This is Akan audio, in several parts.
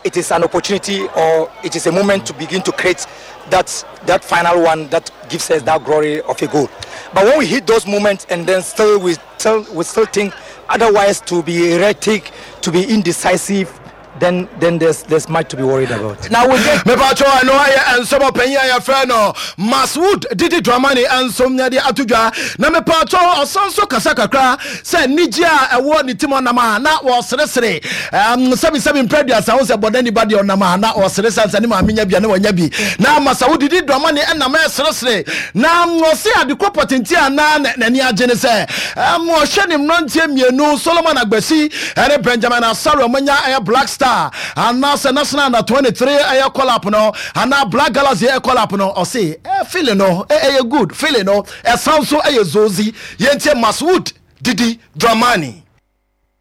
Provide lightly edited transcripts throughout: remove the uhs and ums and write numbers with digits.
It is an opportunity or it is a moment to begin to create that that final one that gives us that glory of a goal. But when we hit those moments and then still we still we still think otherwise to be erratic, to be indecisive, then then there's there's much to be worried about. Now we get mepatwɔ ɛno ayɛ nsɛm ɔpanyin a yɛfrɛ no Maswood Didi Dramani nso de ato dwa na mepatwɔ ɔsan so kasa kakra sɛ anigye a ɛwɔ ne tim ɔnam a na wɔseresere sɛbisɛbi mpɛ aduasa ho sɛ bɔdani ba deɛ ɔnam a na ɔsere sane sɛ ne maame nya bi a na wanya bi na Masawo Didi Dramani ɛnam ɛseresere na ɔse adekɔ pɔtente a na n'ani agye ne sɛ ɔhwɛ ne mmeranteɛ mmienu Solomon Agbasi ɛne Benjamin Asare ɔmanya ɛyɛ Black Star anaasɛ National Under 23 ɛyɛ call up no anaa Black Galaxy ɛyɛ call up no ɔse feeling no ɛyɛ good feeling no ɛsan so ɛyɛ zozi. Yɛntie Maswood Didi Dramani.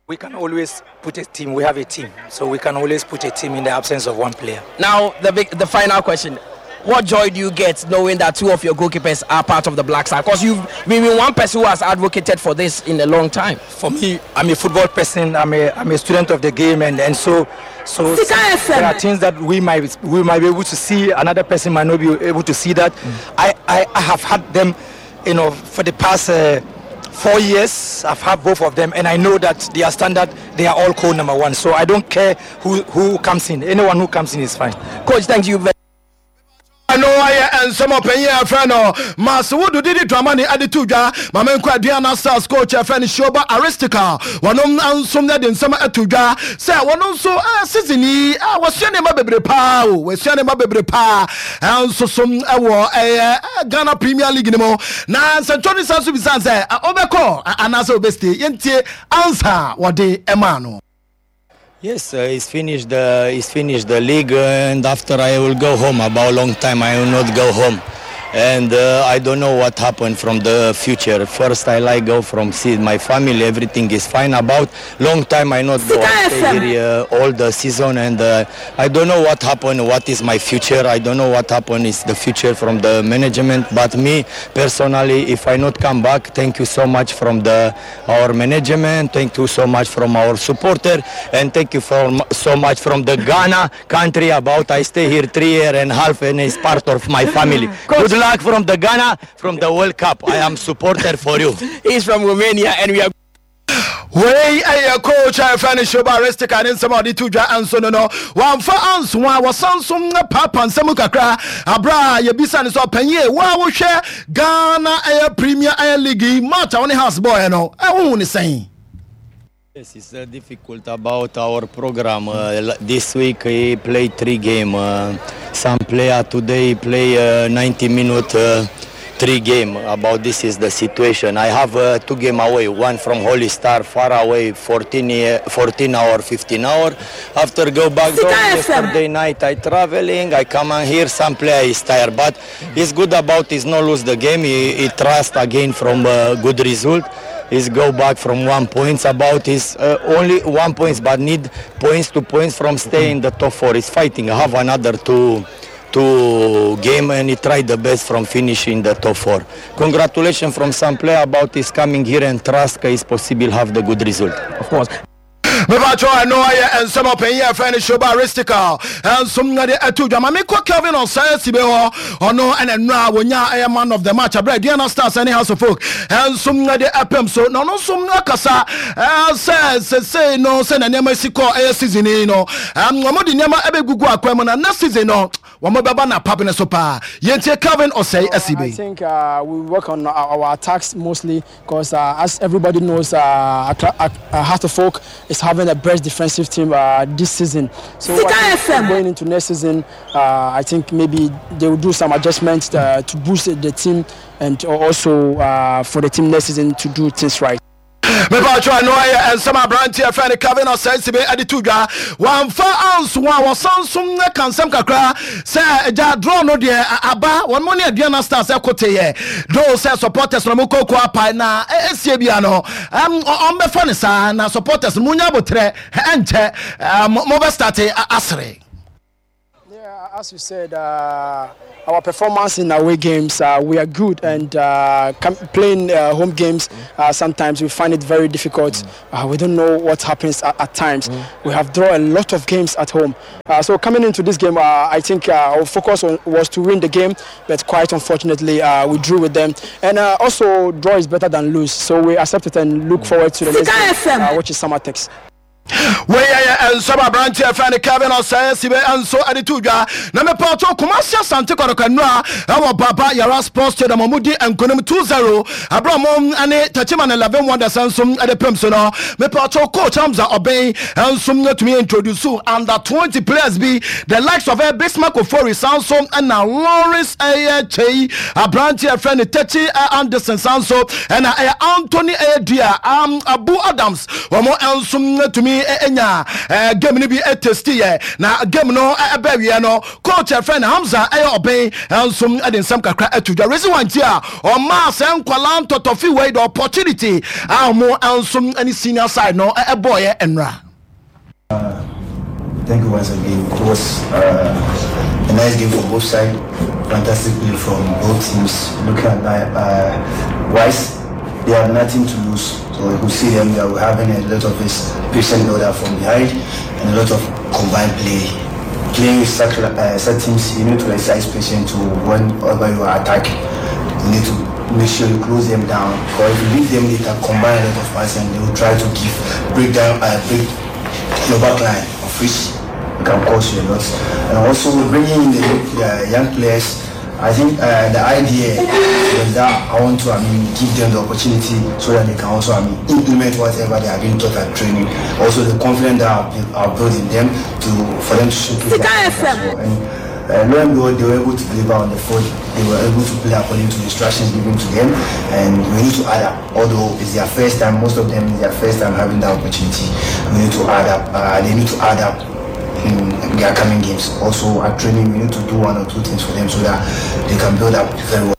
We can always put a team. We have a team, so we can always put a team in the absence of one player. Now, the big, the final question: What joy do you get knowing that two of your goalkeepers are part of the Black Star? Because you've been one person who has advocated for this in a long time. For me, I'm a football person. I'm a I'm a student of the game, and and so so there are things that we might we might be able to see. Another person might not be able to see that. I, I I have had them you know, for the past 4 years, I've had both of them, and I know that their standard, they are all code number one. So I don't care who comes in. Anyone who comes in is fine. Coach, thank you very Ɛno ayɛ nsɛm ɔpanyin a ɛfrɛ no Maswood Didi Dramani ade to dwa. Maame nkɔ Aduana Stars coach ɛfrɛ no Shoba Aristica, wɔnom nso de nsɛm ato dwa sɛ wɔno nso season yi wɔsua nneɛma bebree paa o, wɔsua nneɛma bebree paa nso so ɛwɔ ɛyɛ Ghana Premier League no mu na nsɛntwerɛ no san so bisan sɛ ɔbɛkɔ anaasɛ ɔbɛstay. Yɛntie ansa wɔde ɛmaa no. Yes, it's finished the league, and after I will go home. About long time I will not go home, and I don't know what happened from the future. First, I like go from see my family. Everything is fine. About long time I not go. I stay here all the season, and I don't know what happened. What is my future? I don't know what happened is the future from the management. But me personally, if I not come back, thank you so much from the our management. Thank you so much from our supporter, and thank you for so much from the Ghana country. About I stay here 3 year and a half, and it's part of my family. Good luck from the Ghana, from the World Cup. I am supporter for you. He's from Romania, and we are Wei ɛyɛ coach a ɛfɛ no Shoba Aristica ne nsɛm a ɔde to dwa nso no wamfa anso a wɔsan so paapa nsɛm kakra aberɛ a yɛbisa no sɛ ɔpanyie wo a wohwɛ Ghana ɛyɛ Premier ɛyɛ League yi match a wo ne Hearts bɔɔɛ no, ɛwohu ne sɛn? Yes, it's difficult about our program. This week he play three game. Some player today play 90 minute three game. About this is the situation. I have two game away. One from Holy Star far away, 14, 14 hour, 15 hour. After go back home yesterday night, I traveling. I come on here. Some player is tired, but it's good about is not lose the game. He trust again from good result is go back from 1 points about is only 1 points but need points to points from stay in the top four. Is fighting, have another two game and he try the best from finish in the top four. Congratulations from some player about is coming here and trust is possible have the good result. Of course. Mebatwɛ ɛno ayɛ nsɛm ɔpanyin a ɛfrɛ no Shoba Aristica nso de ɛto dwa. Ma mekɔ Kelvin Ɔsɛe Sibe hɔ, ɔno ɛna nnura a wɔnya ɛyɛ man of the match aberɛ Aduana Stars ne Hearts of Oak nso de ɛpem so na ɔno nso akasa sɛ sesei no sɛ na nneɛma si kɔ ɛyɛ season yi no wɔn de nneɛma ɛbɛgugu akwan mu na next season no wɔn bɛba na pap ne so paa. Yɛntie Kelvin Ɔsɛe Asibe. I think we work on our attacks mostly because as everybody knows, Hearts of Oak is having the best defensive team this season. So I think going into next season, I think maybe they will do some adjustments to boost the team and also for the team next season to do things right. Mepatwɛ no ayɛ nsɛm aberanteɛ fɛ no Kelvin Ɔsɛe Sibe de to dwa. Wamfa anso a wɔsan so ka nsɛm kakra sɛ agya draw no deɛ aba wɔn mo ne Aduana Stars ɛkoteyɛ do sɛ supporters no mo kɔkɔ apae na ɛsie bia no ɔmbɛfa ne saa na supporters no monya abotrɛ ɛnkyɛ mobɛstart asere. Yeah, As you said, our performance in away games, we are good, and playing home games, sometimes we find it very difficult. We don't know what happens at times. We have drawn a lot of games at home. So coming into this game, I think our focus was to win the game, but quite unfortunately, we drew with them. And also, draw is better than lose, so we accept it and look forward to the next game, which is Samatex. Wei yɛ nsɛm aberanteɛ fɛ no Kevin Ɔsɛe Sibe nso de to dwa. Na mepaakyɛw, Kumasi Asante Kɔtɔkɔ nnura ɛwɔ Baba Yara Sports Stadium ɔmo di nkonim 2-0 ɛberɛ ɔmo ne Techiman 11 Wonders nso de pem so no. Mepaakyɛw, coach Hamza Ɔbɛn nso atumi introduce under 20 players bi, the likes of Bismarck Ofori, san so ɛna Lawrence ɛyɛ Kyei, aberanteɛ fɛ no Techi Anderson, san so ɛna ɛyɛ Anthony ɛyɛ Dua, Abu Adams. Wɔn nso atumi anya game no bi testi yɛ, na game no ɛbɛ wie no, coach ɛfrɛ no Hamza ɛyɛ Ɔbɛn nso de nsɛm kakra ato dwa, reason why nti a ɔmaa sɛ nkwalaa ntɔtɔfi wei the opportunity a wɔn nso ne senior side no ɛbɔɔyɛ nnora. Thank you once again. It was a nice game for both sides. Fantastic play from both teams. Looking at Wise, they have nothing to lose. So you could see them, they were having a lot of this patient build up from behind and a lot of combined play. Playing with such teams, you need to exercise patience to whenever you are attacking. You need to make sure you close them down. Because if you leave them, they can combine a lot of passes and they will try to give break down, break your back line, of which can cause you a lot. And also bringing in the young players, I think the idea was that I want to, I mean, give them the opportunity so that they can also, I mean, implement whatever they are being taught at training. Also the confidence that I've built in them for them to showcase their talent as well. And lo and behold, they were able to deliver on the field. They were able to play according to the instructions given to them, and we need to add up. Although it's their first time, most of them it's their first time having that opportunity. We need to add up. They need to add up in their coming games. Also at training, we need to do one or two things for them so that they can build up very well.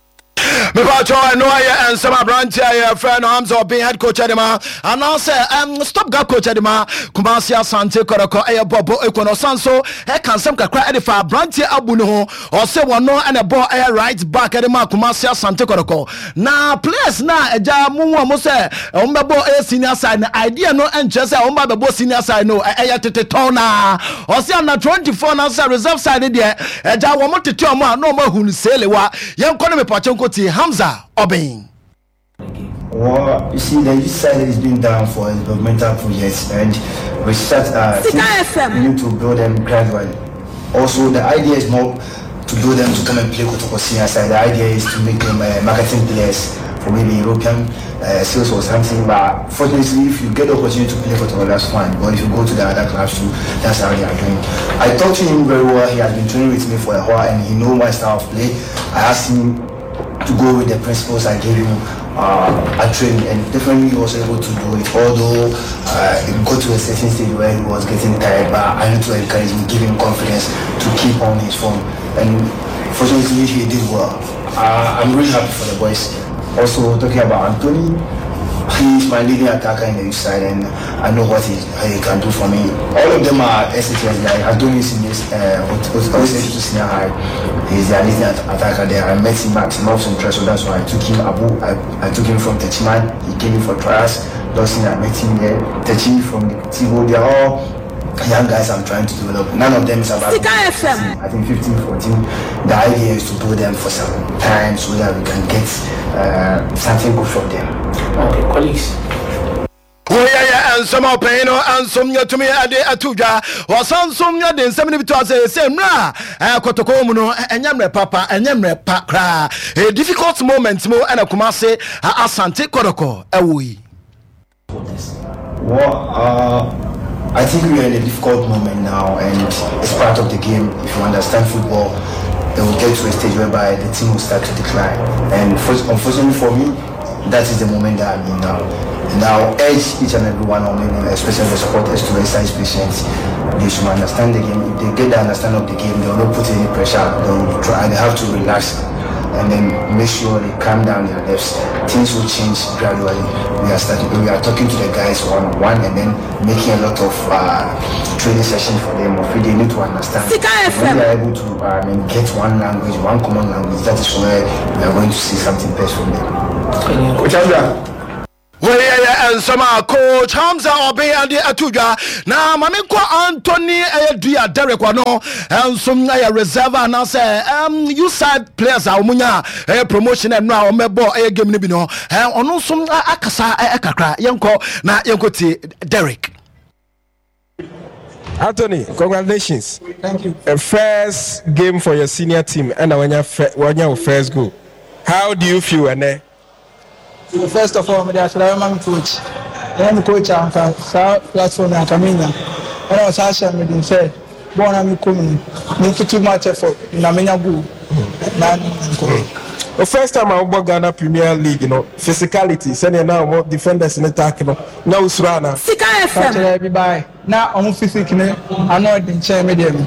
Mepatwɛ, ɛno ayɛ nsɛm aberante a yɛfrɛ no Hamza Ɔben, head coach de ma anaasɛ stop gap coach de ma Kumase Asante Kɔtɔkɔ ɛyɛ bɔbɔ ɛkɔ no. Ɔsan so ɛka nsɛm kakra ɛde fa aberanteɛ Abu no ho. Ɔsɛ wɔno ɛna ɛbɔ ɛyɛ right back ɛde ma Kumase Asante Kɔtɔkɔ, na players na ɛgya mu hu ɔmo sɛ ɔmo bɛbɔ ɛyɛ senior side no, idea no ɛnkyerɛ sɛ ɔmo ba bɛbɔ senior side no, ɛyɛ tete tɔn na ɔsɛ under 24 na sɛ reserve side deɛ ɛgya wɔn tete ɔmo a na ɔmo ahu no seelewa. Yɛnkɔ ne mepɔkyɛ nkɔ Hamza Ɔbɛn. Well, you see, the youth side is being done for developmental projects, and we start. We need to build them gradually. Also, the idea is not to build them to come and play Kotoko senior side. The idea is to make them marketing players for maybe European sales or something. But fortunately, if you get the opportunity to play Kotoko, that's fine. But if you go to the other clubs too, that's how they are doing. I talked to him very well. He has been training with me for a while, and he knows my style of play. I asked him to go with the principles I gave him at training, and definitely he was able to do it, although it got to a certain stage where he was getting tired, but I need to encourage him, give him confidence to keep on his form, and fortunately he did well. I'm really happy for the boys. Also talking about Anthony, he is my leading attacker in the youth side, and I know what he can do for me. All of them are SHS guys. Anthony is in this to senior high. He's the leading attacker there. I met him at North Central, so that's why I took him. Abu, I took him from Techiman. He came in for trials. Dawson, I met him there. Techi from the Tigo. They are all young guys I'm trying to develop. None of them is about 15, I think 15, 14. The idea is to build them for some time so that we can get something good from them. Okay, colleagues. Woyɛyɛ nsɛm a ɔpanyin no nso yɛtumi de ato dwa. Ɔsan nso de nsɛm no bi to ase sɛ mmerɛ a Kɔtɔkɔ mu no ɛnyɛ mmerɛ papa, ɛnyɛ mmerɛ pa koraa, a difficult moment mu ɛna Kumase Asante Kɔtɔkɔ ɛwɔ yi. Well, I think we are in a difficult moment now, and it's part of the game. If you understand football, it will get to a stage whereby the team will start to decline. And unfortunately for me, that is the moment that I'm in now. And I'll urge each and every one of them, especially the supporters, to exercise patience. They should understand the game. If they get the understanding of the game, they will not put any pressure. They will try. They have to relax. and then make sure they calm down their nerves. Things will change gradually. We are starting. We are talking to the guys one on one, and then making a lot of training sessions for them. Of they need to understand. When they are able to get one language, one common language, that is where we are going to see something best from them. Coach Hamza. Wei yɛ nsɛm a coach Hamza Ɔben de ato dwa na ma menkɔ Anthony ɛyɛ dua Derek ɔno nso ɛyɛ reserve anaasɛ um, side players a wɔn nya ɛyɛ promotion ɛno a wɔn bɛbɔ ɛyɛ game no bi no ɔno nso akasa kakra yɛnkɔ na yɛnkɔ tie Derek. Anthony, congratulations. Thank you. First game for your senior team, and when you when your first goal. How do you feel, Ene? First of all, I should have my coach. I'm coach anka saa platform na anka menya. Ɛna ɔsan hyɛ me den sɛ bɔɔl na mekɔ mu no me too much effort na menya goal na nkɔ. The first time I wobɔ Ghana Premier League no, physicality sɛnea na wɔn defenders ne tack no, na wosuro ana? Sika FM. Kyerɛ bi bae na wɔn physique ne ano ɔden kyɛn me deɛ no.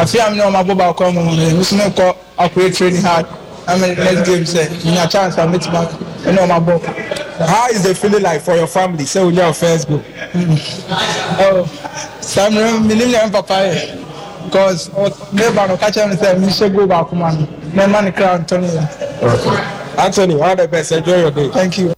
Afei a me ne wɔn abɔ baako ama mu no, me nso mekɔ akɔyɛ training hard na me next game sɛ menya chance a mɛtumi ne wɔn abɔ. How is the feeling like for your family sɛ wonya wo first goal? Oh, saa mmerɛ menim nea me papa yɛ because meba no ɔka kyerɛ me sɛ menhyɛ goal baako ma no na ɛma ne kra ntɔ ne yam. Anthony, all the best. Enjoy your day. Thank you.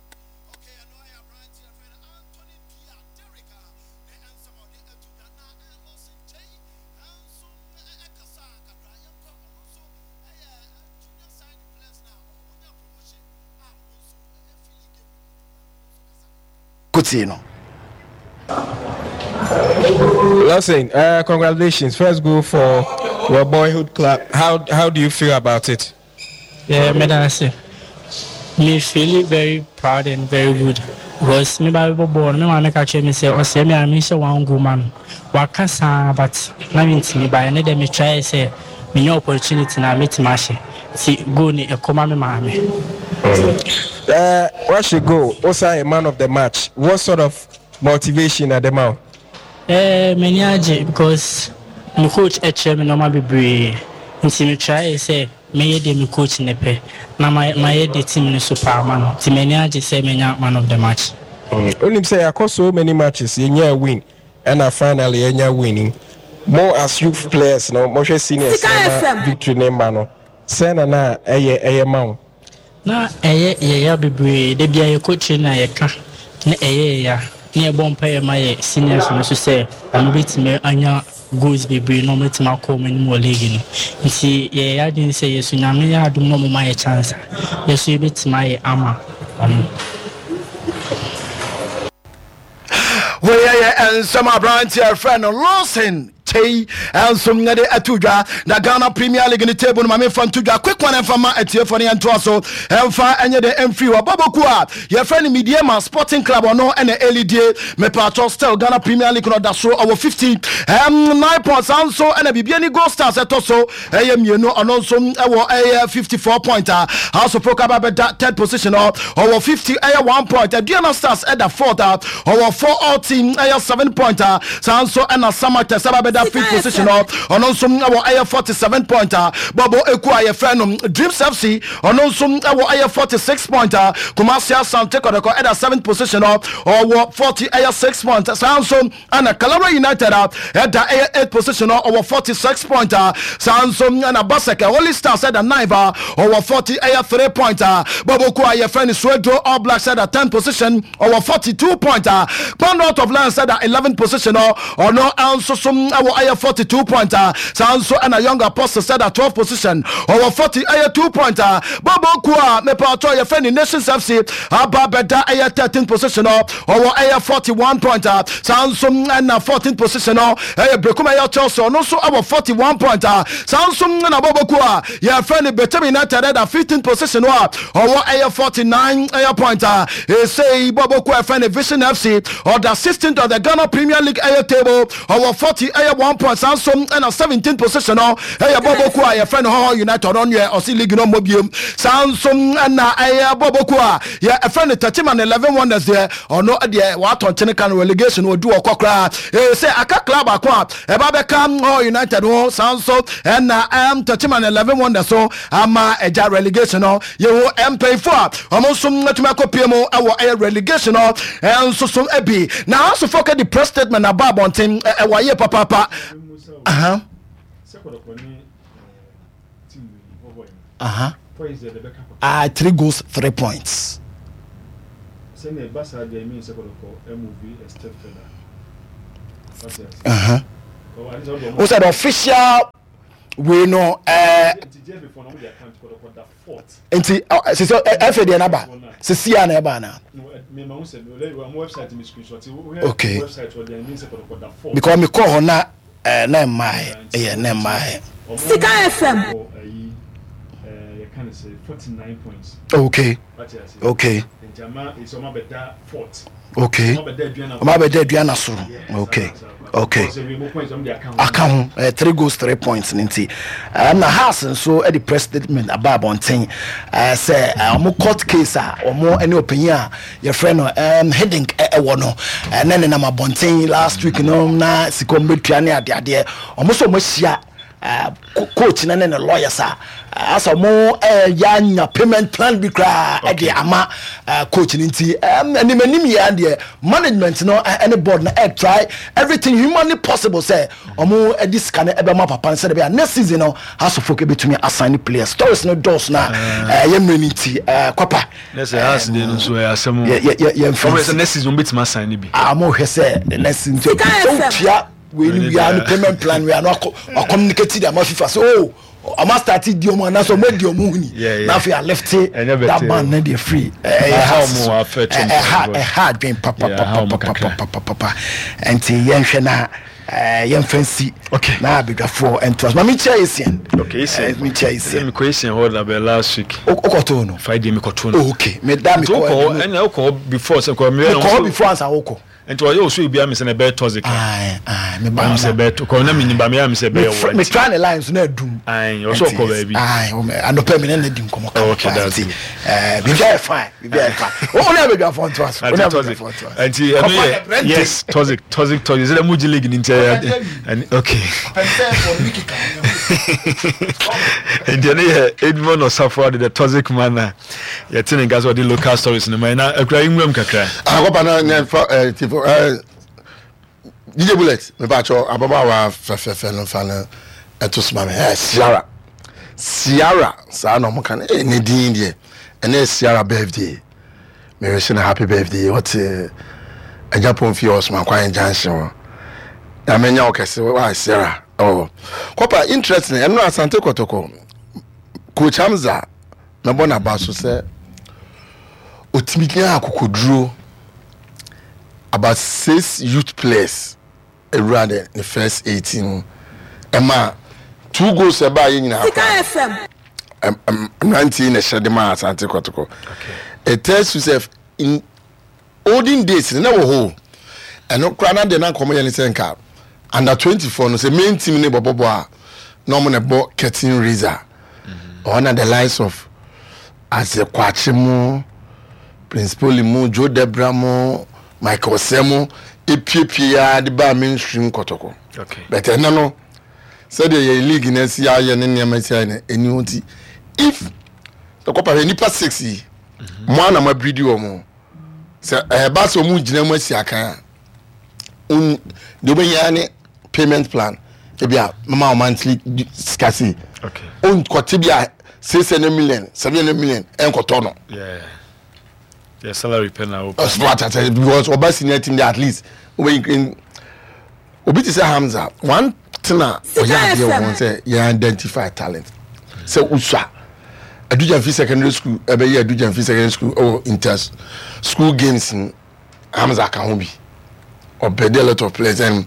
Kotie no. Lawson, congratulations. First goal for your boyhood club. How how do you feel about it? Yeah, me da Me feel very proud and very good because me ba bɔ bɔɔl no me maame ka kyerɛ me sɛ ɔsɛ me a mehyɛ one goal ma no waka saa but na mentumi ba ɛne dɛ me try sɛ menya opportunity na metumi ahyɛ nti goal ni ɛkɔ ma me maame. Wahyɛ goal, wosan yɛ man of the match. What sort of motivation na ɛde ma wo? Eh, m'ani agye because me coach kyerɛ me nneɛma bebree nti me try sɛ mɛyɛ deɛ me coach no pɛ na mayɛ deɛ team no so pɛ ama no nti m'ani agye sɛ manya man of the match. Wonim sɛ yɛakɔ so many matches yɛnyaa win ɛna finally yɛanya win yi. Mo as youth players no mohwɛ seniors no na victory no mma no sɛn na na ɛyɛ ɛyɛ ma wo? Na ɛyɛ yɛ ya bebree, da biara yɛkɔ training a yɛka na ɛyɛ yɛ ya, na yɛbɔ mpaeɛ ma yɛ seniors no nso sɛ wɔn bɛtumi anya goals bebree na wɔatumi akɔ wɔn anim wɔ league no. Nti yɛyɛ yɛn adwene sɛ yɛso Nyame yɛ adom na wɔma yɛ chance a, yɛso yɛbɛtumi ayɛ ama wɔn. Wei yɛ nsɛm aberanteɛ frɛ no Lawson Kyei nso de ato dwa na Ghana Premier League ne table no ma memfa nto dwa quick one ɛmfa ma atiefoɔ no yɛntoa so ɛmfa ɛnyɛ de ɛmfiri hɔ bɔbɔku a yɛfrɛ no Medeama Sporting Club ɔno ɛna ɛlidie mepatɔ still Ghana Premier League no ɔda soro ɔwɔ 59 points saa nso ɛna Bibiani Gold Stars ɛtɔ so ɛyɛ mmienu ɔno nso ɛwɔ ɛyɛ 54 point a House of Folk aba bɛda third position hɔ ɔwɔ 50 ɛyɛ 1 point Aduana Stars ɛda fourth a ɔwɔ 4 all team ɛyɛ 7 point a saa nso ɛna Samatex aba bɛda fifth position hɔ ɔno nso ɛwɔ ɛyɛ 47 point a bɔbɔ eku a yɛfrɛ no Dreams FC ɔno nso ɛwɔ ɛyɛ 46 point a Kumasi Asante Kɔtɔkɔ ɛda seventh position hɔ ɔwɔ 40 ɛyɛ 6 point saa nso ɛna Kalawra United a ɛda ɛyɛ 8 position hɔ ɔwɔ 46 point a saa nso ɛna Baseke Holy Stars ɛda 9 a ɔwɔ 40 ɛyɛ 3 point a bɔbɔ ku a yɛfrɛ no Suedro All Blacks ɛda 10 position ɔwɔ 42 point a Kpando of Lions ɛda 11 position hɔ ɔno nso so ɛwɔ ɛyɛ 42 point a saa nso ɛna Young Apostles ɛda 12 position ɔwɔ 40 ɛyɛ 2 point a bɔbɔ ku a mepatɔ yɛfrɛ no Nations FC aba bɛda ɛyɛ 13 position hɔ ɔwɔ ɛyɛ 41 point a saa nso ɛna 14 position hɔ ɛyɛ Berekum ɛyɛ Chelsea ɔno nso ɛwɔ 41 point a saa nso ɛna bɔbɔ ku a yɛfrɛ no Bechem United ɛda 15 position hɔ a ɔwɔ ɛyɛ 49 ɛyɛ point a ɛsei bɔbɔ ku a yɛfrɛ no Vision FC ɔda 16th of the Ghana Premier League ɛyɛ table ɔwɔ 40 ɛyɛ 1 point. Saa nso ɛna 17th position no ɛyɛ bɔbɔku a yɛfrɛ no Hɔhɔ United, ɔno deɛ ɔse league no mmɔ biem. Saa nso ɛna ɛyɛ bɔbɔku a yɛfrɛ no Techiman 11 Wonders deɛ, ɔno deɛ watɔ nkyene ka no relegation ɔdu ɔkɔ koraa. Ɛyɛ sɛ aka club baako a ɛba bɛka Hɔhɔ United ho, saa nso ɛna ɛm Techiman 11 Wonders so ama ɛgya relegation no. Yɛhu mpanyinfoɔ a wɔn nso atumi akɔpie mu wɔ ɛyɛ relegation no nso so bi. Na asofo ka di press statement aba abɔnten ɛwɔ ayɛ papaapa. Aha. Aha. Ah, 3 goals, 3 points. Uh-huh. Who said official wei no ɛɛ nti sisi ɛfɛ deɛ naba sisi a na ɛba ana. Okay, because mi kɔ hɔ na ɛɛ na ɛmaa yɛ ɛyɛ na ɛmaa yɛ. Sika FM. Okay okay okay ɔmo abɛda aduana soro okay okay aka ho eh, 3 goals 3 points ne nti eh, na Hearts nso de press statement aba abɔnten eh, sɛ ɔmo court case a ɔmo ne ɔpanyin a yɛfrɛ no Hiddink ɛwɔ no ne nenam abɔnten last week no na sika ɔmo bɛtua ne adeadeɛ ɔmo sɛ ɔmo ahyia coach no ne ne lawyers a asɛ ɔmo ɛyɛ anya payment plan bi koraa ɛde ama coach no nti anim anim yɛ deɛ management no ɛne board no ɛ try everything humanly possible sɛ ɔmo ɛde sika no ɛbɛma papa no sɛdeɛ bɛyɛ next season no Hearts of Oak ɛbɛtumi asign ne players. Stories no dɔɔso na ɛyɛ mmerɛ no nti kwapa ne sɛ Hearts deɛ no nso ɛyɛ asɛm o. Yɛmfa ɔmo sɛ next season ɔmo bɛtumi asign ne bi. Ɔmo hwɛ sɛ next season nti ɔtua wei ni wia no payment plan wia no akɔ communicate de ama FIFA sɛ oh ɔmo start di ɔmo anaasɛ ɔmo adi ɔmo huni na afei alefte that ban na deɛ free ɛyɛ ha ɛha ɛha adwen papapapapapapa nti yɛnhwɛ na yɛnfa nsi na abadwafoɔ ntoa so maame nkyia Essien nkyia Essien mekɔ Essien hɔ na bɛ last week wokɔtoo no Friday mekɔtoo no okay meda mekɔ ɛna wokɔ before sɛ mekɔ before ansa wokɔ. Nti ɔyɛ osu ebi ame sɛ na ɛbɛyɛ toxic. Ayi ayi me ba na sɛ ɛbɛyɛ to kɔ na mi niba mi ame sɛ ɛbɛyɛ wɔ. Me try ne line so na adum. Ayi ɔsɛ ɔkɔ baabi. Ayi anɔpɛ mi ne ne di nkɔmɔ kama. Okay that's good. Ɛɛ biribi ayɛ fine biribi ayɛ fine. O ne abɛdwa fɔ ntoa so. O ne abɛdwa fɔ ntoa so. Nti ɛno yɛ yes toxic toxic toxic sɛ mu gye league ni nti ɛyɛ ɛni okay. Nti ɛno yɛ Edmond Osafo adi the toxic man na. Yɛte ne nka sɛ ɔde local stories no ma yɛn na akura yi nwuram kakra. Akɔpa na na fa ɛɛ eh, tifo ɛɛ eh, DJ Bullet mepa atwɔ ababaawa fɛfɛɛfɛ no fa no ɛto soma mi ɛɛ Ciara Ciara saa na ɔmo ka no ɛɛ ne din deɛ ɛnɛ Ciara birthday mɛrɛhyɛ no happy birthday ɔte ɛgya pɔn fie ɔsoma kwan junction hɔ na mɛnya ɔkɛse wa Ciara ɔwɔ kɔpa interest no ɛno Asante Kɔtɔkɔ Coach Hamza. Mɛbɔ n'aba so sɛ ɔtumi nyaa akokoduro about 6 youth players awura de ne first 18 mu ɛma 2 goals ɛbaa yɛ nyinaa koraa mmeranteɛ na ɛhyɛ de maa Asante Kɔtɔkɔ. It tells you sɛ in Olden days no na ɛwɔ hɔ o. Ɛno koraa na deɛ na nka wɔyɛ ne sɛ nka under 24 no sɛ main team no bɔbɔ bɔ a na wɔn na ɛbɔ curtain raiser. Ɔhɔ na the likes of Ase Kwakye mo, Prince Poly mo, Joe Debra mo, Michael Osei mo epiepie ya de baa mainstream kɔtɔkɔ. Okay. But ɛnɛ no sɛdeɛ yɛ league no asi ayɛ ne nneɛma asi ayɛ no ɛni hɔ nti if ɛkɔpa hwɛ nipa 6 yi mo ara na mo abiridi wɔn. Sɛ ɛba sɛ wɔn gyina mu asi akan a, deɛ wobɛhia ne payment plan. Ebi a mama wɔn monthly sika sei. Nkɔte bi a 600 million, 700 million ɛnkɔtɔ no. Yeah, salary pɛ na wopɛ. Ɔsɛ because ɔba senior team de at least wobɛyi obi te sɛ Hamza one thing a ɔyɛ adeɛ wɔ ho sɛ yɛn identify talent sɛ usua Adugyanfi secondary school ɛbɛyɛ Adugyanfi secondary school ɛwɔ inter school games no Hamza ka ho bi ɔbɛdi a lot of players and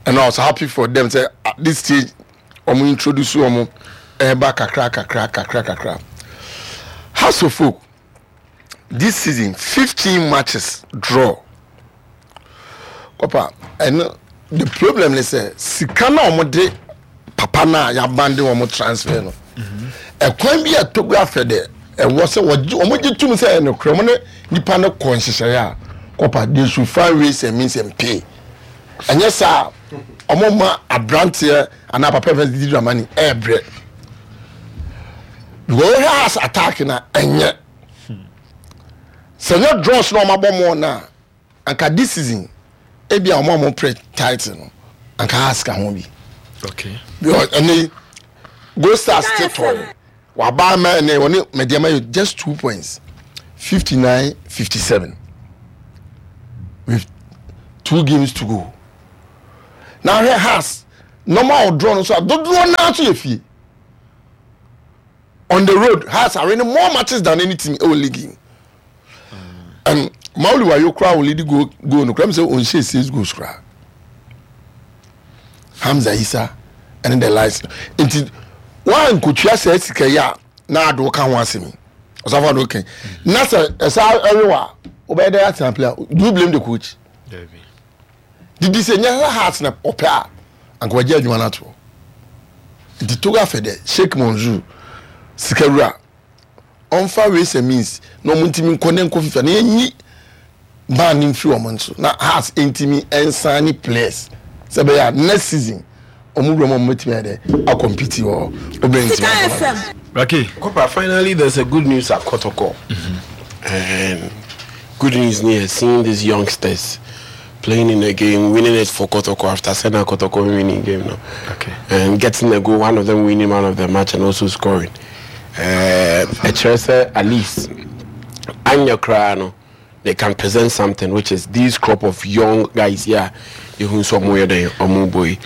I was happy for them sɛ at this stage wɔn introduce wɔn ɛɛba kakra kakra kakra kakra. Hearts of Oak this season 15 matches draw kɔpa ɛno. The problem ne sɛ sika no a wɔde papa no a yɛabande wɔn transfer no ɛkwan bi a Togo afɛ dɛ ɛwɔ sɛ wɔgye wɔn gye tum sɛ ɛyɛ nokorɛ wɔn ne nipa no kɔ nhyehyɛeɛ a kɔpa they should find ways and means and pay ɛnyɛ saa wɔn ma aberanteɛ anaa papa fɛn Didi Dramani ɛɛbrɛ because wɔhwɛ as attack na ɛnyɛ sɛ nyɛ draws na wɔn abɔ mɔɔ na. Anka this season ebi a wɔn a wɔn pere title no anka Hearts ka ho bi. Okay. Because ɛnɛ Gold Stars te tɔn waba ama ɛnɛ wɔne Medeama yɛ just 2 points, 59-57 with two games to go. Na ahwɛ Hearts normal draw no so a dodoɔ naa so yɛ fie. On the road Hearts are winning more matches than any team ɛwɔ league yi. And Mauli Wayo koraa wɔ lead goal no koraa mi sɛ ɔnhyɛ six goals koraa. Hamza Isa ɛne the likes nti wɔn nkotua sɛ sika yi a na ado ka ho asɛm yi ɔsafo ado kan na sɛ ɛsa ɛrewa wobɛyɛ dɛ atena player. Do you blame the coach? Didi sɛ nyɛ sɛ Hearts na ɔpɛ a anka wagye adwuma no ato hɔ. Nti Togo afɛ dɛ Sheikh Mansour sikawura ɔmfa ways and means na ɔmo ntumi nkɔ ne nkɔ FIFA na yɛnyi ban no mfiri ɔmo nso na Hearts ntumi nsan ne players sɛ bɛyɛ a next season ɔmo wura mu ɔmo bɛtumi ayɛ dɛ akɔmpiti wɔ hɔ obɛn ntumi abɔ. Raki. Kopa, finally there's a good news at Kotoko. And good news near seeing these youngsters playing in a game, winning it for Kotoko after Sena Kotoko winning game now. And getting a goal, one of them winning man of the match and also scoring. Ɛkyerɛ sɛ at least anyɛ koraa no they can present something, which is these crop of young guys here ehu nso ɔmo yɛ dɛn ɔmo bɔ yi.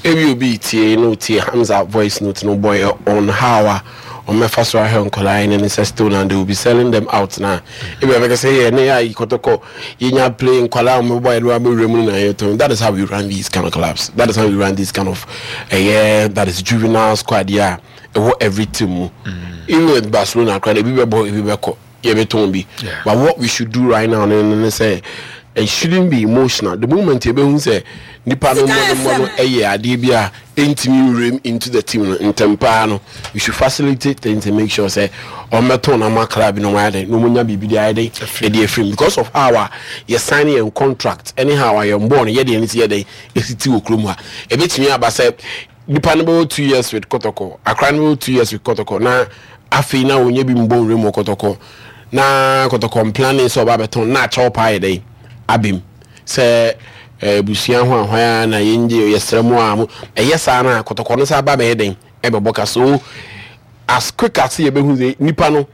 Ebi obi tie no tie Hamza voice note no boy on how a ɔmɛfa so ahwɛ nkɔlaa yi ne ne sɛ still na they will be selling them out na ebi abɛka sɛ yɛ ne yɛ ayi Kɔtɔkɔ yɛnya play nkɔlaa ɔmo bɔ yɛ no abɛwura mu no na yɛ tɔn. That is how we run these kind of clubs. That is how we run this kind of ɛyɛ that is juvenile squad yɛ a ɛwɔ every team mu. Even with Barcelona koraa no ebi bɛbɔ ebi bɛkɔ yɛbɛtɔn bi. But what we should do right now ne ne sɛ it shouldn't be emotional. The moment yɛbɛhu sɛ nipa no mmɔdemmɔ no ɛyɛ adeɛ bi a ɛntumi nwuram into the team no ntɛm paa no, we should facilitate things and make sure sɛ ɔmmɛtɔn no ama club bi na ɔmo ayɛ dɛn na ɔmo nya biribi de ayɛ dɛn ɛde afiri mu because of how a yɛ sign yɛn contract ɛne how a yɛn bɔɔl no yɛde yɛn ti yɛ dɛn esiti wɔ kurom ha. Ɛbɛtumi aba sɛ nipa no bɛwɔ 2 years with Kɔtɔkɔ, akora no bɛwɔ 2 years with Kɔtɔkɔ na afei na onye bi mbɔ nwura mu wɔ Kɔtɔkɔ na Kɔtɔkɔ mplanning sɛ ɔba abɛtɔn na akyɛw paa yɛ dɛn abem sɛ abusua ho ahwan a na yɛngye yɛsrɛ mu a mo ɛyɛ saa na Kɔtɔkɔ no sɛ aba bɛyɛ dɛn ɛbɛbɔ ka. So as quick as yɛbɛhu sɛ nipa no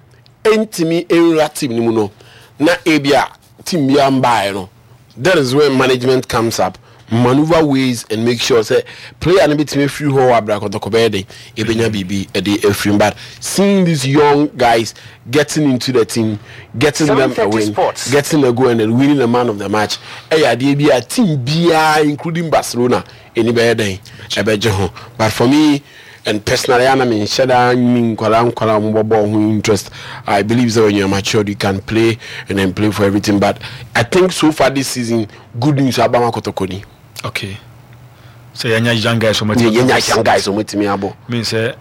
ɛntumi nwura team no mu no na ebi a team biara mbaeɛ no, that is when management comes up, maneuver ways and make sure sɛ player no bɛtumi afiri hɔ wɔ abira Kɔtɔkɔ bɛyɛ den ebɛnya biribi ɛde afiri mu. But seeing these young guys getting into the team, getting them a 730 win, Sports. getting a goal and then winning the man of the match ɛyɛ adeɛ bi a team biara including Barcelona ɛni bɛyɛ den ɛbɛgye ho. But for me and personally ana menhyɛ daa nni nkwadaa nkwadaa a wɔbɔ bɔɔl ho interest. I believe that when you are matured you can play and then play for everything, but I think so far this season good news aba ma Kɔtɔkɔ ni. Okay, sɛ yɛnya young guys wɔn ti yɛnya young guys wɔn tumi abɔ. Mean sɛ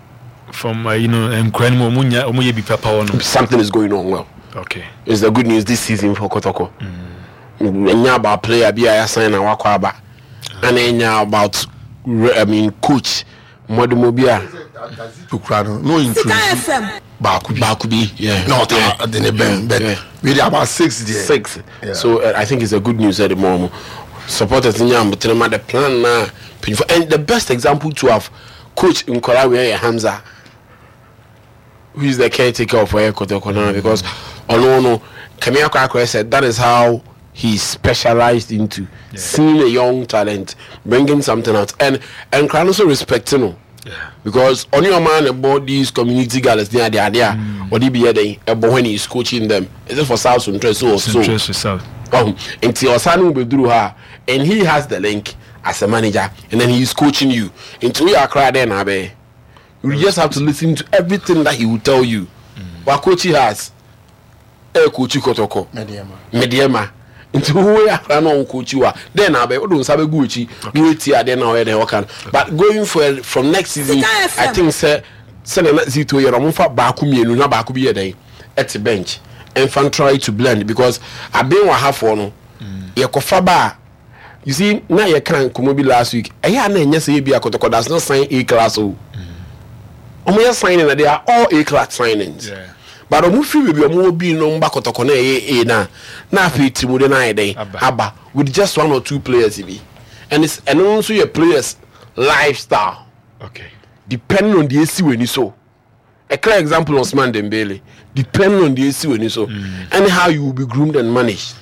from nkura no mu wɔn nya wɔn yɛ bi papa wɔ no. Something is going on well. It's the good news this season for Kɔtɔkɔ. Ɛnya about player bi a yɛasan na wakɔ aba ana ɛnya about, I mean, coach mmɔdemmɔ bi a. Kura no no introduce baako bi baako bi, yeah. Na ɔta de ne bɛn but we dey about six there. Six. So I think it's a good news at the moment supporters nya abotire ma the plan na mpanyinfo. And the best example to have coach nkɔla wei yɛ Hamza, who is the caretaker of ɛyɛ Kotoko now, because ɔno no kɛmi akɔ akɔyɛ sɛ that is how he specialized into seeing a young talent, bringing something out, and nkran no so respect no because ɔne ɔman na ɛbɔ these community galas ne ade ade a ɔde bi yɛ den ɛbɔ when he is coaching them. Is it for South Suntre so or so? Suntre South. Oh, nti ɔsan no bɛduru ha and he has the link as a manager and then he is coaching you nti woyɛ akora dɛn na abɛyɛ, you just have to listen to everything that he will tell you. Wa coach has ɛ coach Kɔtɔkɔ, Medeama. Nti wo yɛ akora na ɔwɔ coach wa dɛn na abɛ wode nsa bɛgu akyi na woatie adeɛ na ɔyɛ dɛn ɔka no. But going for from next season I think sɛ sɛdeɛ na Zito yɛ no ɔmo nfa baako mmienu na baako bi yɛ dɛn ɛte bench ɛnfa try to blend because aben wɔ hafoɔ no yɛkɔfa ba a you see na yɛka nkɔmmɔ bi last week ɛyɛ a na ɛnyɛ sɛ yɛbi akɔtɔkɔ does not sign A class o ɔmo yɛ signing na they are all A class signings. Yeah. But ɔmo firi baabi a ɔmo wɔ bi no ɔmo ba kɔtɔkɔ na ɛyɛ A no a na afei tirimude no ayɛ dɛn aba with just one or two players bi and it's ɛno nso yɛ players lifestyle okay. Depending on deɛ esi w'ani so. A clear example Ousmane Dembele depending on deɛ esi w'ani so mm. and how you will be groomed and managed.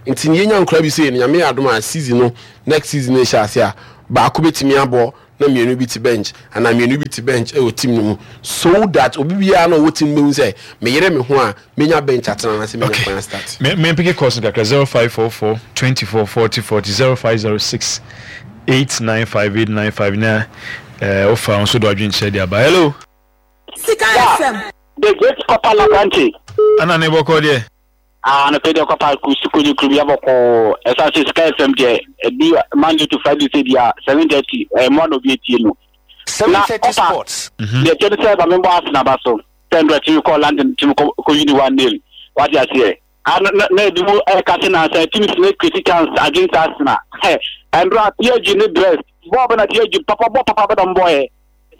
Nti ne yɛnya nkora bi sɛ Nyame yɛ adom a season no next season no hyɛ ase a baako bɛtumi abɔ na mmienu bi te bench anaa mmienu bi te bench wɔ team no mu so that obi biara na ɔwɔ team no bɛhu sɛ meyere me ho a menya bench atena anaasɛ menya kwan astart. Me me mpeke calls no kakra 0544 24 40 40 0506 895 895 na eh, wofa wo nso do adwenkyerɛ de aba. Hello. Sika FM. The great Copper Labrante. Ana ne bɔkɔ deɛ. Ah anɔpɛ deɛ kɔpa kusi kuro bi abɔkɔɔ ɛsan sɛ Sika FM deɛ ɛdi Monday to Friday sɛ bia 7:30 ɛyɛ mmoa na obi etie no. Na kɔpa deɛ kyɛ ne sɛ ma membɔ Arsenal aba so sɛ ndrɛ tumi kɔ London tumi kɔ kɔ wini 1 nil wate aseɛ ah na na ebi mu ɛka se na sɛ teams ne create chance against Arsenal hɛ ɛndrɛ PSG ne Brest bɔɔl bɛ na PSG papa bɔɔl papa bɛ na mbɔɛ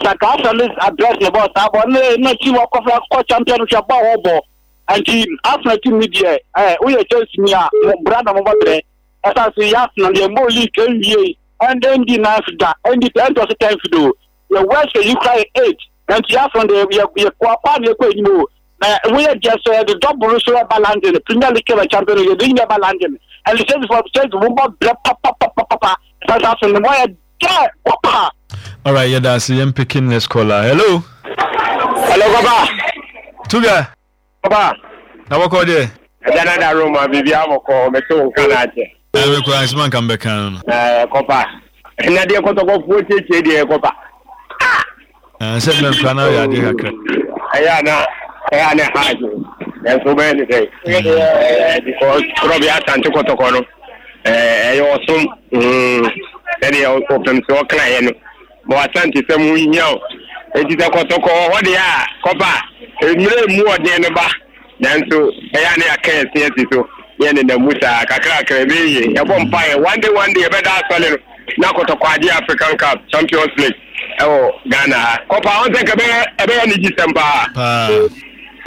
sɛ ka Arsenal ne Brest ne bɔɔl saa bɔɔl ne na team ɔkɔfra kɔ champion hwɛ bɔɔl wɔbɔ Nti Arsenal team ni deɛ eh, woyɛ Chelsea ni a, mo bra na mobɔ brɛ. Ɛsan so yɛ Arsenal yɛn bɔ league nwie, ɛn ɛndi ninth da, ɛndi ɛntɔ so tenth do. Yɛ worst yi kura yɛ eight. Nti Arsenal deɛ yɛ yɛ kɔ akɔ na yɛkɔ anim o. Na woyɛ deɛ sɛ yɛde double so ɛba London, Premier League kɛmɛ champion yɛde nyina ɛba London. Ɛnti Chelsea fo Chelsea mo bɔ brɛ papapapapa. Ɛsan so Arsenal mo yɛ dɛ papa. Alright, yɛda ase yɛn picking next caller. Hello. Hello, Papa. Tuga. Papa. Na wɔkɔ deɛ. Ɛgya na da Roma biribi abɔkɔ mɛte wo nka na akyɛ. Ɛmɛ kura nsɛm anka mbɛka no no. Ɛɛ kɔpa. Ɛna deɛ kɔtɔkɔfoɔ tietie deɛ kɔpa. Ah! Sɛ mɛ nkura na yɛ adeɛ kakra. Ɛyɛ ana ɛyɛ ana ɛha adwene. Nanso wobɛyɛ ne sɛn? Ɛɛ because korɔbea asante kɔtɔkɔ no ɛɛ ɛyɛ ɔsom sɛdeɛ ɔpem sɛ ɔkaeɛ no ma w'asante sɛm ho hia o. Enti sɛ kɔtɔkɔ wɔ hɔ deɛ a kɔpa mmerɛ mu ɔden no ba. Nanso ɛyɛ a na yɛaka yɛn se asi so na yɛnenam mu saa. Kakrakra, ɛbɛyɛ yie. Yɛbɔ mpaeɛ, one day, one day, yɛbɛda asɔre no na kɔtɔkɔ agye African Cup, Champions League ɛwɔ Ghana ha. Kɔpa, wɔn sɛ nka ɛbɛyɛ, ɛbɛyɛ anigyesɛm paa. Paa.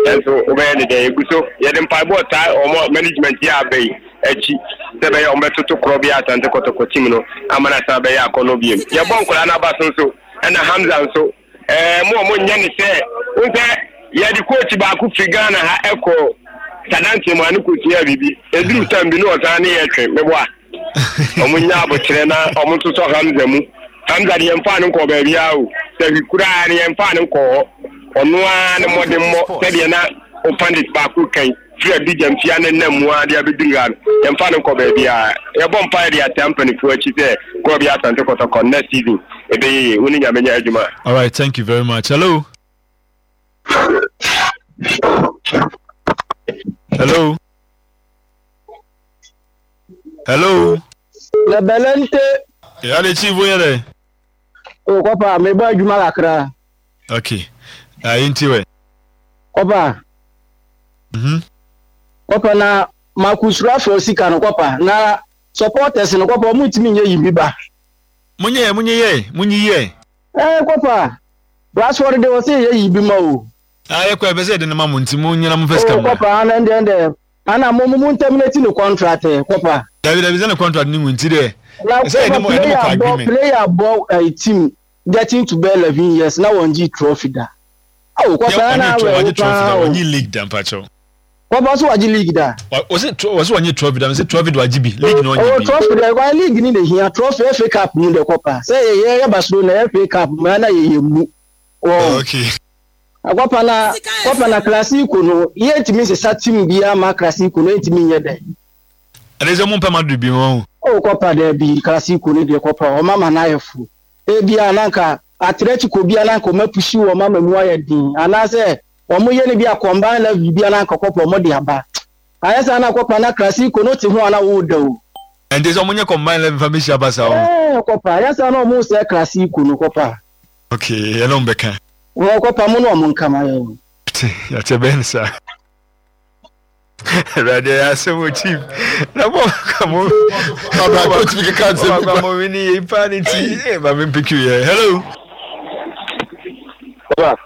Nanso wobɛyɛ ne dɛn? Yɛgu so, yɛde mpaebɔ taa wɔn management yi a aba yi akyi sɛ ɛbɛyɛ wɔn bɛtoto korɔbea Asante Kɔtɔkɔ team no ama no asan abɛyɛ akɔnnɔ bio. Yɛbɔ nkwadaa no aba so nso, ɛna Hamza nso. Ɛɛ mo a mo nyɛ ne sɛ wohu sɛ yɛde coach baako firi Ghana ha ɛkɔ Sadanteɛ mu a ne kosua biribi ɛduru tam bi ne ɔsan ne yɛ twe meboa ɔmo nya abokyerɛ na ɔmo nso sɔ Hamza mu Hamza de yɛmfaa no nkɔɔ baabiara o sɛ hwi koraa ne yɛmfaa no nkɔɔ hɔ ɔno ara ne mmɔdemmɔ sɛdeɛ na o pandit baako kan firi Abidjan fie ne nam mu ara de abɛduru ha no, yɛmfa no nkɔ baabiara. Yɛbɔ mpaeɛ de ataa mpanimfoɔ akyi sɛ Korɔbea Asante Kɔtɔkɔ next season ɛbɛyɛ yie. Wo ne Nyame nyɛ adwuma. Alright, thank you very much. Hello. Hello. Hello. Lebelente. Yeah, the chief wo yɛ O kɔpa, mebɔ adwuma kakra. Okay. Ayi nti wɛ. Kɔpa. Mhm. Kɔpa na Marcus Rashford sika no kɔpa na supporters no kɔpa ɔmo ntumi nyɛ yi bi ba. Monyɛ yɛ monyɛ yɛ monyi yɛ. Ɛɛ kɔpa Rashford de ɔsɛ yɛ yi bi ma o. Ah yɛ kɔ ɛbɛ sɛ yɛde ne ma mo nti mo nyina mo fɛ sika mo. O kɔpa ana ndɛ ndɛ ana mo mo terminate ne contract kɔpa. Dabi dabi sɛ ne contract ne mu nti dɛ. Na Ɛsɛ yɛde mo yɛde mo kɔ agreement. Player bɔ ɛɛ team getting to be 11 years na wɔn gye trophy da. Awo kɔpa na awɛ wo paa o. Wɔnye league da mpakyɛw. Kɔpa so wagye league da. Wɔsi wɔsi wɔnye trophy da mesi trophy de wagye bi league na ɔnye bi. Trophy de kwan league ni na ehia trophy FA Cup mu de kɔpa sɛ yɛ yɛ yɛ Barcelona FA Cup mu na yɛ yɛ mu. Okay. Kɔpa na kɔpa na Clasico no yɛ ntumi nsesa team bi ama Clasico no ntumi nyɛ dɛ. Ɛde sɛ mo mpɛ Madrid bi wɔn. O kɔpa dɛ bi Clasico no deɛ kɔpa ɔma ma n'ayɛ fo. Ebia na anka Atletico bi a na anka wɔapushi wɔn ama mu ayɛ den, anaasɛ wɔyɛ no bi a combine level bi a na anka kɔpɔ wɔde aba. Ayɛ saa na kɔpa na Krasiko no te ho a na wo da o. Ɛnti sɛ ɔmo nyɛ combine 11 fa mehyia Barca o. Ɛɛ kɔpa ayɛ saa na ɔmo sɛ Krasiko no kɔpa. Okay ɛna ɔmo bɛka. Wɔ kɔpa mo ne ɔmo nka ma yɛ o. Te yɛte bɛn saa. Awurade ɛyɛ asɛm o chief. Na mo ka mo. Abra coach bi keka nsɛm bi ba. Mo wini yɛ pa ne ti. Eh ba me pick you yɛ. Hello. Papa.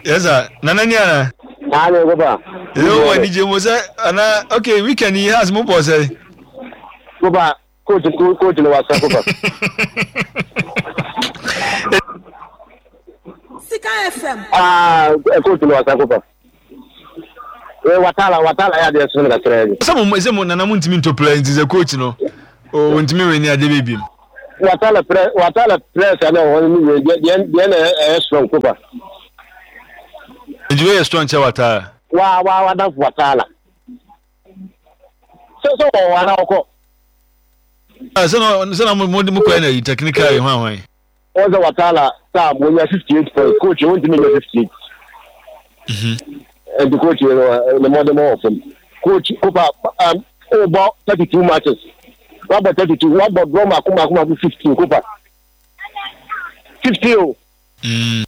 Yes sir. Nana ni ana. Ah ne papa. Yo wa ni je mo sɛ ana okay weekend yi has mo bɔ sɛ. Papa coach coach no wasa papa. Sika FM. Ah coach no wasa papa. Eh, watala watala yɛ adeɛ sono kakra bi. Sɛ mo sɛ mo nana mo ntumi ntɔ player nti sɛ coach no o ntumi wɛ ni adeɛ bɛ biem. Watala prɛ watala press ana wɔn ni wɛ deɛ deɛ deɛ na ɛyɛ strong kopa. Nti wei yɛ strong kyɛ watala. Wa wa wadanfo watala. Sɛ sɛ wɔ hɔ ana ɔkɔ. Ah, sɛ na sɛ na mo mo mo kɔ yɛ na yi technical yi hwan hwan. Wɔn sɛ Watala Sam wɔnya 58 points coach wɔn ntumi nya 58. Ɛnti coach yɛ no ne mmɔden wɔ fam. Coach Kopa um, wobɔ 32 matches wabɔ 32 wabɔ draw mako mako mako 15 Kopa 15 o. Mm.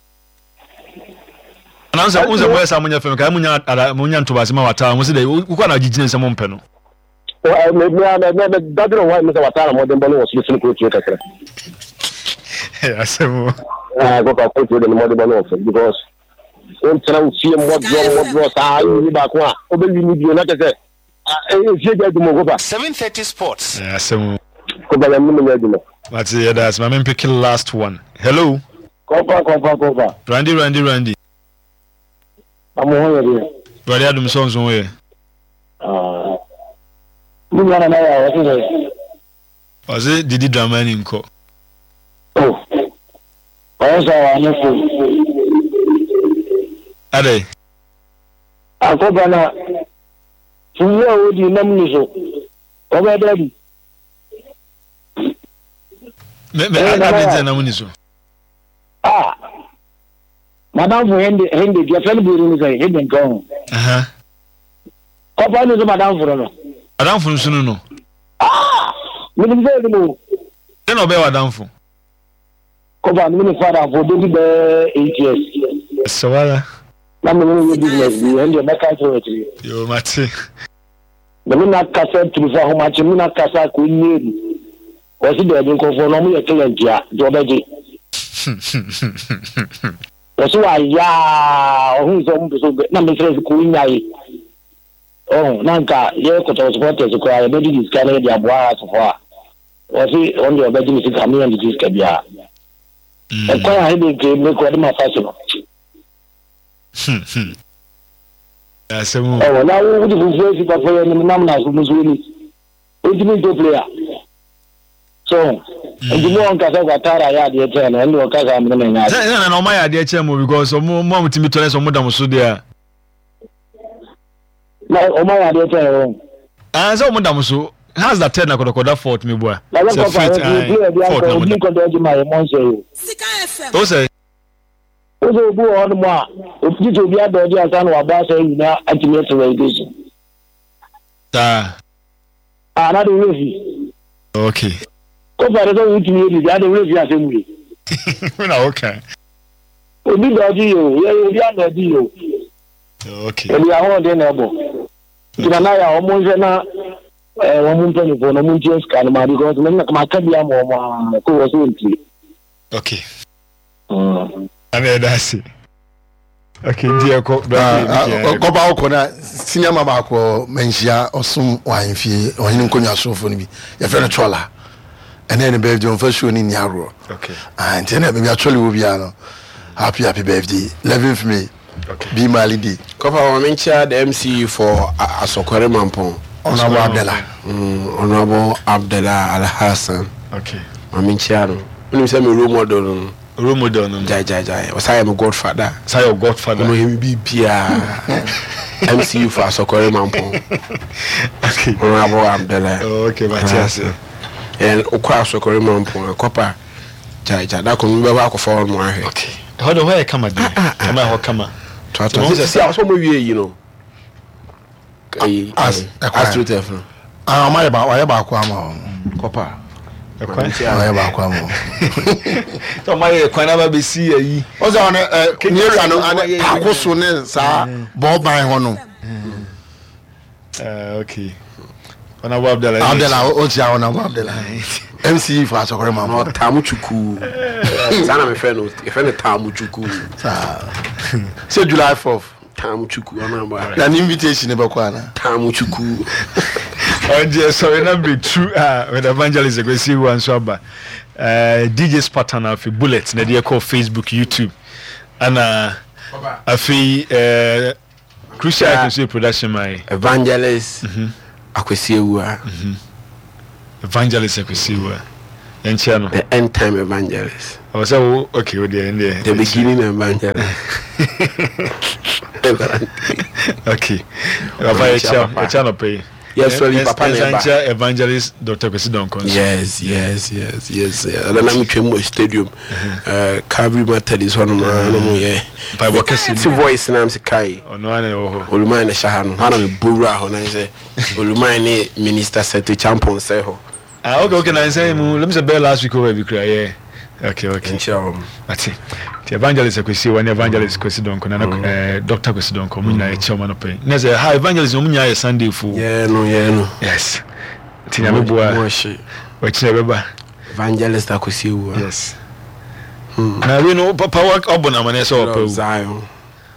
Na sɛ wo sɛ moyɛ saa monyɛ fam ka monya ada monya ntoboase ma wataa mo sɛ dɛ wokɔ na gyegyina sɛ mompɛ no. Dadwene ho ayɛ sɛ wataa na mmɔdenbɔ no wɔ soro sene kootuo kakra. Asɛm o. Kɔfa kootuo de ne mmɔdenbɔ no wɔ fam because wontena wo fie mmɔdorɔ mmɔdorɔ saa wonni baako a wobɛwi ne bio na kyɛ sɛ efie gya adwuma kofa. 7:30 Sports. Asɛm o. Kofa yɛn mu nyɛ adwuma. Mate yɛda ase ma mempeke last one. Hello. Kɔfa kɔfa kɔfa. Randy Randy Randy. Na mo ho yɛ deɛ. Awurade adom sɛ nso ho yɛ. Ah. Me nua nana yɛ a ɔse sɛ. Ɔse didi Dramani nkɔ. Oh. Ɔyɛ sɛ wanyɛ fo. Adɛn? Akɔba na fufu a odi nam ni so. Ɔbɛ dɛ bi. Me me adɛn nti na nam ni so? Ah. Madamfo Hende Hende deɛ fɛn bi no sɛ Hende nka ho. Kɔfa no so madamfo no no. Madamfo nso no no. Ah! Menim sɛ ɛnim o. Dɛn na ɔbɛyɛ w'adamfo? Kɔfa no mene fa adamfo bɛdi bɛɛ 8 years. Sɛ wara. Na mene no yɛ business bi ɛn deɛ mɛka kyerɛ wɔ akyiri. Yoo mate. Na me na kasa tiri fa ahomakye me na kasa kɔ nyɛ bi. Wɔse daabi nkurɔfoɔ no wɔyɛ killer ntia nti wɔbɛgye. Wɔse wayɛ a ɔhuu sɛ wɔn pɛ sɛ na mesrɛ sɛ kò nyae. Ɔho na nka yɛ kɔtɔkɔ supporters koraa yɛbɛgye de sika no yɛde aboa asofo a wɔse wɔn deɛ wɔbɛgye me sika me yɛn de sika biara. Ɛkwan a hede nke me kɔ de ma fa so no. Ɛwɔ na wo wode fufuo asi papa yɛ nim nam na so musuo ni. Ontumi ntɔ player. So nti mo ɔnka sɛ Ouattara yɛ adeɛ kyɛn no ɛnde ɔka saa mene menya Sɛ sɛ na ɔma yɛ adeɛ kyɛn mo because ɔmo mo a mo tumi tɔ ne sɛ ɔmo da mo so deɛ a. Na ɔma yɛ adeɛ kyɛn wɔn. Ah sɛ ɔmo da mo so how's that third na kɔdɔkɔda fault mi bua. Na yɛ Sɛ kɔfa fifth yɛ ae player bi fault akɔ na ɔmo obi da. nkɔdɔ agye ma yɛ mɔ nhyɛ yi. O sɛ. O sɛ obi wɔ hɔ nom a obi sɛ obi adɔ ɔgye ansa na wabɔ asɛ nyinaa atumi ato relegation. Saa. Ah, na de wura fi. Okay. Kofa de sɛ wotumi yɛ biribi ade wura fi asɛm wei. Wo na woka. Obi dɔɔgye yɛ o, yɛ obi anɔɔgye yɛ o. Okay. Ebi ahoɔden na ɛbɔ. Nti na na yɛ a wɔn nhwɛ na ɛɛ wɔn mpanyinfoɔ na wɔn ntua sika no ma because me na ma ka bi ama wɔn a ko wɔ so ntie. Okay. Ana ɛda ase. Okay, nti ɛkɔ. Kɔba wokɔ na senior ma baako manhyia ɔsom wɔ ahemfie ɔhene nkonnwa somfoɔ no bi yɛfrɛ no Twɔla ɛnɛ ne birthday ɔmfa show no nni agorɔ nti ɛnɛ baabi atwɔle wɔ biara no happy happy birthday 11th May okay. Be Mali Day. Kɔfa ma menkyia the MC for Asɔkɔre Mampɔn. Honorable Abdallah. Mm, Honorable Abdallah Alhassan. Okay. Ma menkyia no. Wonim sɛ me role model no no. Role model no no. Gyae gyae gyae. Ɔsan yɛ me godfather. Ɔsan yɛ godfather. Ɔno yɛ me biribiara. MCU for Asɔkɔre Mampɔn. Okay. Honorable Abdallah. Oh, okay, mate ase. And okɔ Asɔkɔre Mampɔn akɔpa gyae gyae. Da koro mebɛkɔ akɔfa hɔ nom ahwɛ. Okay. Ɛhɔ de hɔ yɛ kama deɛ. Ah, ah, ah. Ɛma ɛhɔ kama. Toatoa. Sisi a ɔsɛ ɔmo wie yi no. ɛyi astroturf no. Ah, ɔmo ayɛ ba ɔyɛ baako ama wɔn. Kɔpa. Ɛkwan. Ɔyɛ baako ama wɔn. Sɛ ɔmo ayɛ kwan aba bɛsi ayi. Ɔsɛ ɔno ɛ ne area no ane paako so ne saa bɔɔban hɔ no. Okay. Honorable Abdallah. Abdallah o ti a Honorable Abdallah. MC for asɔkɔrɔ ma. Na ɔtaamu chukuu. Saa na mefrɛ no, yɛfrɛ no taamu chukuu. Saa. Sɛ July 4th. Taamu chukuu ɔno aba. Na ne invitation ne bɛkɔ ana? Taamu chukuu. Ɔgye sɔre na betu a with evangelist Kwesi Awuah nso aba. Eh, DJ Spartan afei Bullet na ɛde ɛkɔ Facebook, YouTube. Ana afei eh, Crucial Icon nso yɛ production man yi. Evangelist Akwasi Awuah. Evangelist Akwasi Awuah. Yɛnkyia no. The end time evangelist. Ɔwɔ sɛ wo okay wo deɛ ɛndeɛ. The beginning evangelist. Okay. Papa yɛkyia yɛkyia nɔpɛ yi. Yes, sorry, papa na ɛba. Yɛnkyia evangelist Dr. Kwesi Donkor nso. Yes, yes, yes, yes. Ɛna na metwam wɔ stadium. Calvary Methodist hɔ nom a na mo yɛ. Mpaebɔ kɛse. Ti voice na mse kai. Ɔno ara na ɛwɔ hɔ. Oluman na ɛhyɛ ha no. Hɔ na mebɔ wura hɔ na sɛ Oluman ne Minister Seth Champon sɛ hɔ. Ah, okay, okay, na nsɛn mu. Let me say bɛyɛ last week over bi kura yeah. Okay, okay. Nkyia wɔn. Ate. Ti evangelist Akwesi wɔ ne evangelist Kwesi Donkor na eh, Dr. Kwesi Donkor mo nyinaa yɛkyia wɔn anɔpa yi. Na sɛ ha evangelist wɔn nyinaa yɛ Sunday fo. Yɛ no, yɛ no. Yes. Ti nyame boa. Mo ahye. Wɔkyerɛ bɛba. Evangelist Akwesi Awuah. Yes. Hmm. Na wei no papa wabɔ no amaneɛ sɛ ɔpɛ wu. Zion.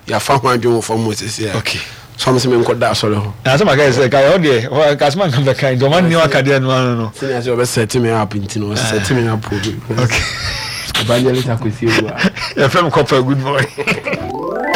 Yɛafa ho adwene wɔ fam hɔ sisi a. Okay. So ɔmo sɛ menkɔ da asɔre hɔ. Na asɛm aka yɛ sɛ ka ɛhɔ deɛ hɔ ka asɛm anka bɛka nti ɔma nni aka deɛ no ano no. Sɛnea sɛ ɔbɛ set me up nti no ɔset me up obi. Okay. Evangelist Akwesi Awuah. Yɛfrɛ me kɔpa good morning.